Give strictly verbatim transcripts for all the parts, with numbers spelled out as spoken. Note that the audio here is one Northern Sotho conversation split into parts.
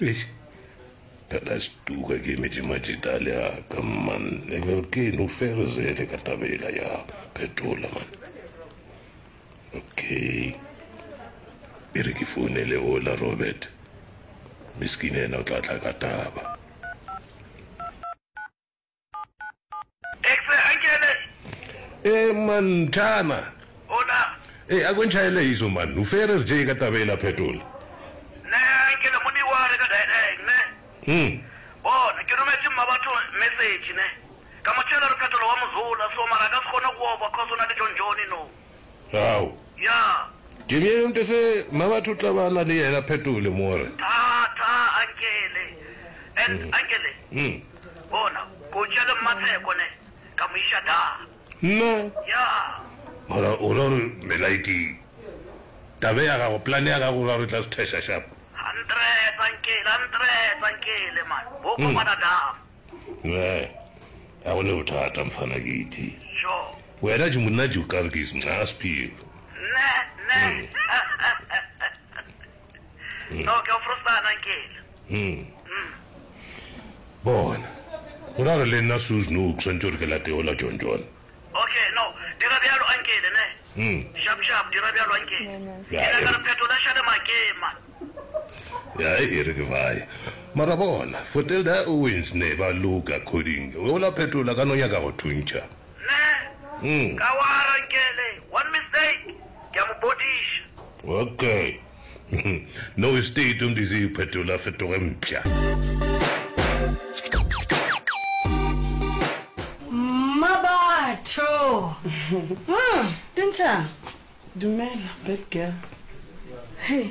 Eish, phela setuka ke emetše matšeta le a ka man. Ke no ferezele ka tabela ya phetola man. Okay. E re ke founele ola Robert. Miskine yena o tla tla ka taba. Exe, Ankele. E man, Thana. Hola. E a ko ntšhaele iso man. O ferez je ka taba ela phetola. Ne, Ankele moni wa re ka daedeng ne. Hmm. Bona, ke rometše mmabatho message ne. Ka mo tšhela re phetola wa mozola so mara a ka se kgone go oba cause o na le John Johnny no. Ao. Ya. Ke bjale nte se mmabatho o tla ba na le yena phetole more. Tha, tha, Ankele. And, Ankele. Hmm. Bona, ko tšea le Mmatsheko ne, ka mo iša da. Nna? Ya. Mara o ra gore melaiki tabe ya gago, plan ya gago o ra gore e tla se theša sharp? Hundred, Ankele, hundred, Ankele man. Bo kopana da. Ne, ga go ne bothata mfana ke itse. Sure. Wena je monna je o ka re ke nca sephiwo. Ne, ne. No, ke a frostana Ankele. Bona, go ra gore le nna Susan o tshwanetse gore ke late ola John John. Okay, no, dira bjalo Ankele ne. Sharp sharp, dira bjalo Ankele. Ya, Ke nyaka e- re phetola šale makema. Ya e re ke vae. Mara bona, Fotelda Owens ne ba look according. Ola phetola ka no nyaka go thuntšha. Ne. Ka wara Ankele, one mistake, ke a mo bodiša. Okay. No state o ndisi phetola fetoge mpša. Mmabatho. Mm, dintshang. Dumela, bad girl. Hey.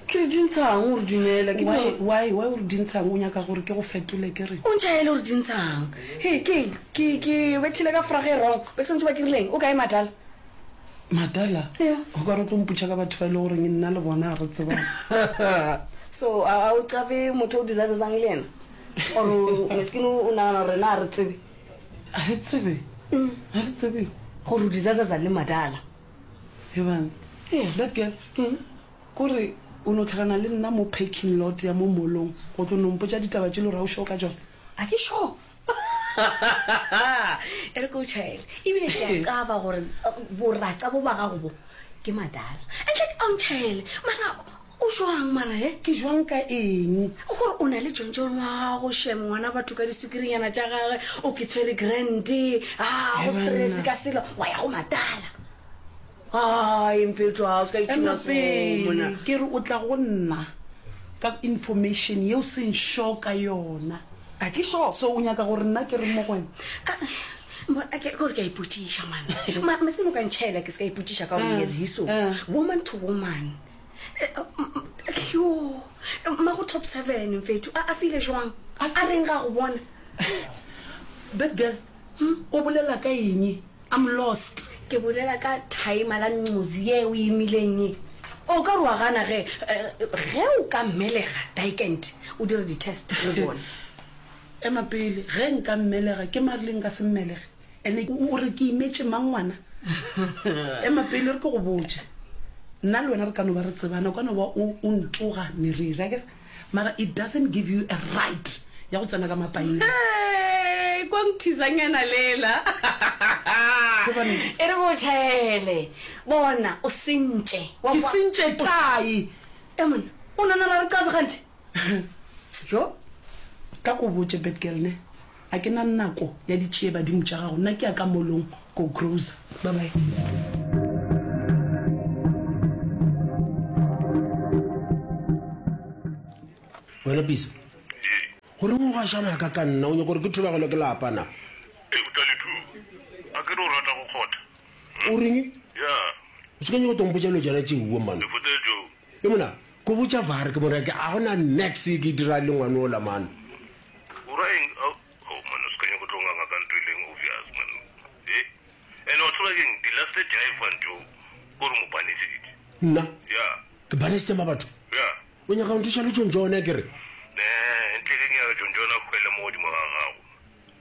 Ke re dintshang o re dumela ke Why no- why why o re dintshang o nyaka gore ke go fetole ke re? O ntšhaele gore dintshang. Hey, ke ke ke bethile ka frage e wrong. Be ke santse ba ke rileng o kae madala? Madala. Yeah. O ka re o tlo mpotša ka batho ba e le goreng nna le bona ga re tsebane. So a a o qabe motho o disasetsang le yena? Or meskine o nagana gore rena a re tsebe Ga re tsebe. Ga re tsebe. gore o disasasa le madala. Ebang. Yeah. Bad girl. Kore o no tlhakana le nna mo parking lot ya mo mall-ong go tlo no mpotša ditaba tše le gore ga o sure ka tšona. A ke sure. E re ke o tšhaele ebile ke a qaba gore boraca bo ba gago bo ke madala. And like a o ntšhaele mara o jwang mara he? Ke jwang ka eng? Gore o na le John John wa gago shem ngwana batho ka disukirinyana tša gagwe o ke tshwere grand a go stress ka selo wa ya go madala. Ai mfetho a o se ka Ema itšhuna so mona. pele ke re o tla go nna ka information yeo seng sure ka yona. A ke sure. So o nyaka gore nna ke re mo go wena? Ah, mo- a ke gore ke a ipotšiša man. Ma masene o ka ntšhaela ke se ka ipotšiša ka gore yes hiso. eh. Woman to woman. Eh, mm, mm, Yo, mmago top seven mfetho a a file jwang? A reng ga go bona? Bad girl, o bolela ka eng? I'm lost. Ke bolela ka timer la nqozi ye o imileng ye. O ka re wa gana ge eh, ge o ka mmelega dikent o dire di-test re bone. Ema pele, ge nka mmelega ke mare le nka se mmelege. Ene o re ke imetše mang ngwana? Ema pele re ke go botše. Nna le wena re ka no ba re tsebana, o ka no ba o o ntoga meriri, akere? Mara it doesn't give you a right ya go tsena ka mapaing. Hey, kwa nthizanyana lela. Gobaneng? E re go tšhaele. Bona o sentše. Wa Ke kwa- sentše kae? E monna, o nana ra re qabe gante. Yo. Ka ko botše bad girl ne. A ke na nako ya ditšie badimo tša gago. Nna ke ya ka mall-ong go grocer. Bye bye. Wena Pisa. Gore o gašana ka ka nna o nyaka gore ke thubagelo ke lapa na? E o tla le thu. A ke re o rata go kgotha. O reng? Ya, O se ka nyaka go tompotša dilo tšona tšeo man. le fote jo. E mona, ko botša var ke mona ke a gona nex e ke dira le ngwane ola man. O ra eng? Oh, oh man, o se ka nyaka go tlo nganga ka ntho e leng obvious man. Eh? And o tseba keng di last jive jo. Gore mo banisitse. Nna Ya. ke banisitse ma batho. Ya. O nyaka go nthuša le John John a ke re? Ne, ntle ke nyaka John John a hwele mo godimo ga gago.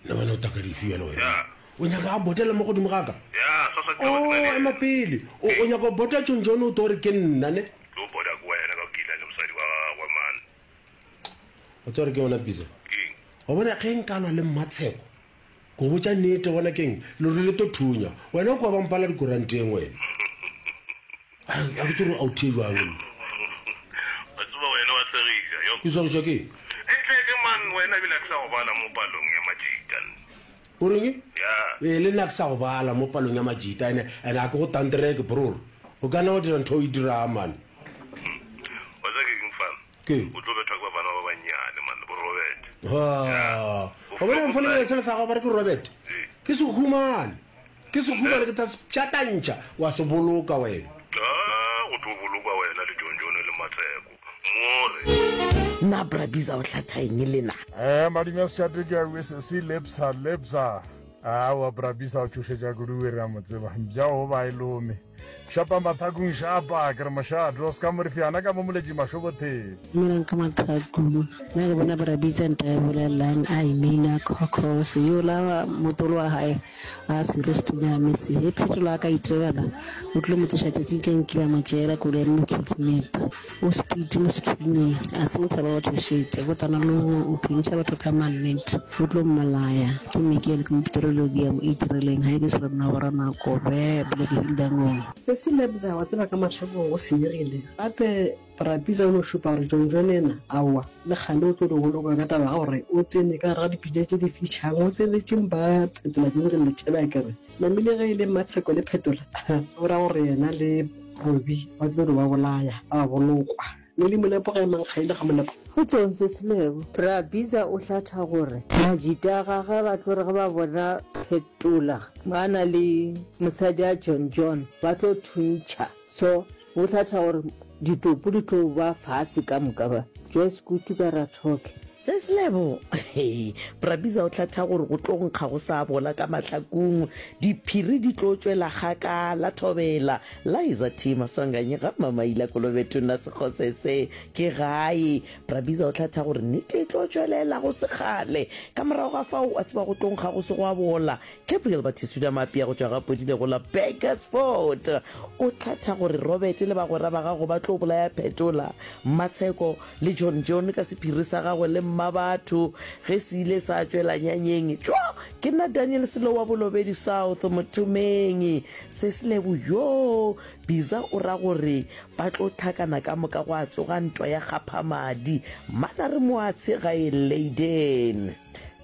Nna bana o taka dife bjale wena. Ya. O nyaka a botela mo godimo ga ka? Ya, sa sa Oh, ema pele. O o nyaka go bota John John o tlo re ke nna ne? Tlo boda ke wena ka kila le mosadi wa gagwe man. O tseba gore ke yona Bisa? Keng? Wa bona ge nka lwa le Mmatsheko, ke go botša nnete gona keng, lerole le tlo thunya. Wena o kwa ba mpala dikoranteng wena. Ai, a ke tsebe gore a o thee jwang nna. Wa tseba wena wa tshegiša, yo. Ke tshegišwa ke eng? Ntle ke man wena ebile a ke sa go bala mo palong ya majita. O reng? Ya. Ee, le nna ke sa go bala mo palong ya majita, ene, ene a ke go tantereke, bror. O ka nna wa dira ntho o e dirang, man. Wa tseba ke eng fana? Ke? O tlo bethwa ke bafana ba bannyane, man, bo Robert. Ha. Wa bona mfana sele sa gago ba re ke Robert? Ke sehumane. Ke sehumane ke tla se pšatantšha wa se boloka wena. Ah, go tlo bolokwa wena le John John le Matseko. More. Na Bra Bizza o hlatha eng le na? Eh, madume a sešate ke a sesi lebsa lebsa. Aowa Bra Bizza o tšhošetša kudu we re a mo tseba. Mpša o ba e lome. Šapa mathakong šapa, ke re mošate o ska morifiana ka mo moletši mašobotheng. Dumelang ka mathakong. Nna ke bona Bra Bizza nta e bolelang a e mina cause yola motolo wa hae a serious to se he phetolo a ka itebala o tlilo mo tsoša tšatši ke nkile a mo tšeela koloi ya mo kidnap o speed mo sethunyeng a se motho wa go tšhošetša go tana le o thuntšha batho ka mannete o tlo mmolaya ke Miguel ke mopetrolodi ya mo itireleng ha ke se re nna bora nako be bile ke hildangong. Sesi Lebza wa tseba ka mahlakong go senyegile gape Bra Bizza o no šupa gore John John yena aowa le kgale o tlo di boloka ka taba ya gore o tsene ka gare ga dipitša tše di fišang o tsenetše mpa Phetola Jonathan Lethebe a kere namile ge e le Mmatsheko le Phetola o ra gore yena le Robi ba tlo di ba bolaya ba ba bolokwa Lily Molepo ga e mang kgaile ga Molepo. Kgotsong Sesi Lebo. Bra Bizza o hlatha gore majita a gagwe ba tlo re ge ba bona Phetola ba na le mosadi a John John ba tlo thuntšha so o hlatha gore ditopo di tlo ba fase ka moka ba Joyce Kutu ka Rathokhe. Sesi Lebo, Hei, Bra Bizza o hlatha gore go tlo nkga go sa bola ka mahlakong, diphiri di tlo tšwela kgakala thobela. Liza T. Maswanganyi ga Mmamaila Kolobetona Sekgosese ke gae. Bra Bizza o hlatha gore nnete e tlo tšwelela go se kgale. Ka morago ga fao, wa tseba go tlo nkga go se gwa bola. Gabriel Batisuda Mapia go tšwa ga Podile go la Burgersfort o hlatha gore Robert le bagwera ba gago ba tlo bolaya Phetola, Mmatsheko le John John ka sephiri sa gagwe le Mmabatho ge se ile sa tšwela nyanyeng. Tšo! Ke nna Daniel Selo wa Bolobedu South, Mothomeng. Se se lebo yo! Bizza o ra gore ba tlo hlakana ka moka gwa tsoga ntwa ya kgaphamadi. Mmana re moatshe gae Leyden.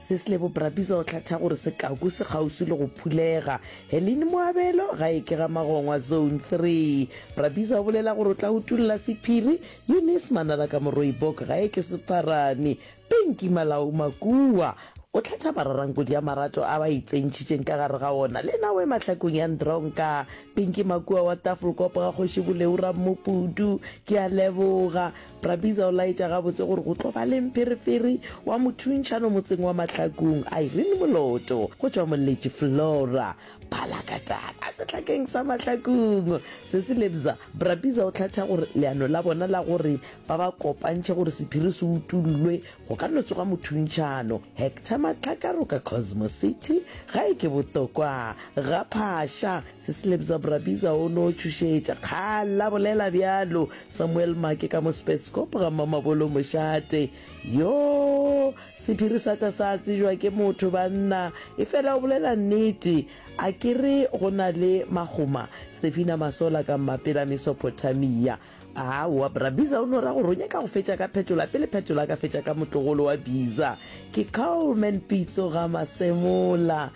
Se se lebo Bra Bizza o hlatha gore sekaku se kgauswi le go phulega. Helene Moabelo ga e ke ga Magongwa Zone three. Bra Bizza o bolela gore o tla utolla sephiri. Eunice Manala ka Moroibok ga e ke Sepharane. Pinky Malao Makua o hlatha mararankodi a marato a ba itsentšhitšeng ka gare ga ona. Le nawe mahlakong ya Ndronka. Pinky Makua wa Tafelkop ga Kgoši Boleu Rammopudu. Ke a leboga. Bra Bizza o laetša gabotse gore go tlo ba le mpherefere wa mothuntšhano motseng wa Mahlakong. Irene Moloto go tšwa Moletši Flora Palakatana sehlakeng sa Mahlakong. Se se lebza, Bra Bizza o hlatha gore leano la bona la gore ba ba kopantšhe gore sephiri se utollwe go ka no tsoga mothuntšhano. Hector Matlhakaroka Cosmo City ga e ke botokwa ga Phasha. Se se lebza, Bra Bizza o no tšhošetša kgala bolela bjalo. Samuel Make ka mo Spetskop ga Mmamabolo Mošate. Yo sephiri sa ka sa tsejwa ke motho banna, efela o bolela nnete. A ke re go na le magoma. Stefina Masola ka Mmapela Mesopotamia. Aowa, Bra Bizza o no ra gore o nyaka go fetša ka Phetola pele Phetola a ka fetša ka motlogolo wa Bizza. Ke Coleman Pitso ga Masemola.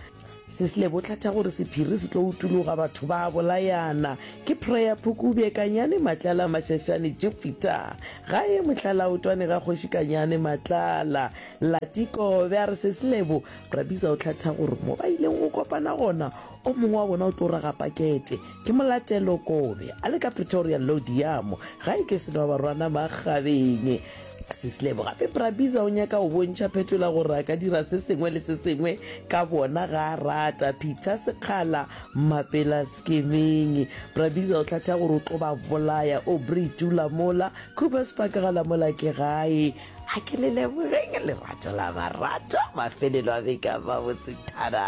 Se se lebo hlatha gore sephiri se tlo utologa batho ba bolayana. Ke Prayer Phukubje Kanyane Matlala Mashashane Jupiter. Gae Mohlalaotwane ga Kgoši Kanyane Matlala. Latiko be a re se se lebo Bra Bizza o hlatha gore mo ba ileng go kopana gona o mongwe wa bona o tlo raga pakete. Ke Molatelo Kobe a le ka Pretoria Lodiamo. Gae ke Senwabarwana Makgabeng. Se se lebo gape Bra Bizza o nyaka go bontšha Phetola gore a ka dira se sengwe le se sengwe ka bona ga a rata. Peter Sekgala Mapela Skemeng. Bra Bizza o hlatha gore o tlo ba bolaya. Aubrey Tula mola Coopers Park ga la mola ke gae. A ke le lebogeng lerato la marato mafelelo a beke a mabotse. Thada!